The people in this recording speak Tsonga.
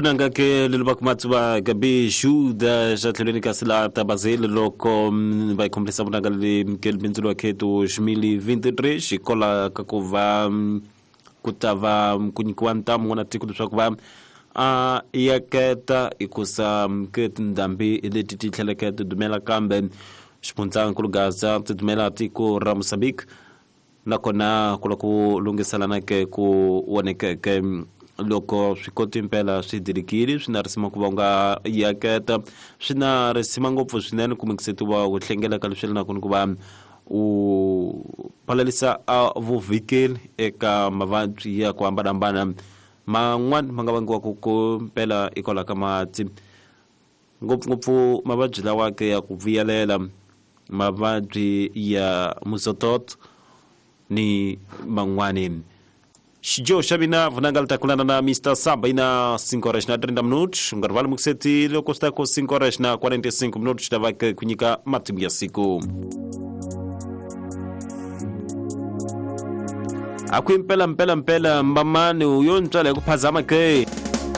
Vunanga ke leli va kuma tsuva gabi xuda xa tlhelweni ka sila ta Basel loko va yi khombisa vunanga leli ke bindzu lwa ke 2023 xikola ka ku va ku ta va ku nyikiwa ntamu n'wana tiko leswaku va a yaketa hikusa ke tindhambi leti ti tlheleke ti dumela kambe xifundzankulu Gaza ti dumela tiko ra Mozambique nakona ku lava ku lunghiselana ke ku vonekeke loko swikoti mpela swi dilikile swi na risima ku va u nga yaketa swi na risima ngopfu swinene kumbe ku u hlengeleka leswi yelanaka ni ku va u palalisa a vuvhikeli eka mavabyi ya ku hambanahambana man'wani ma nga vangiwaka ku mpela hikwalaho ka mati ngopfungopfu mavabyi lawa ke ya ku vuyelela mavabyi ya muzototo ni man'wani. Xidyoho xa mina vunanga li ta kulana na Mr Samba ina 5 horas na 30 minutos. U nga rivali mukuseti loko swi ta ku 5 horas na 45 minutos xi ta va ku nyika matimu ya siku. A ku impela mpela mpela mbamani u yo ntswala hi ku phazama ke.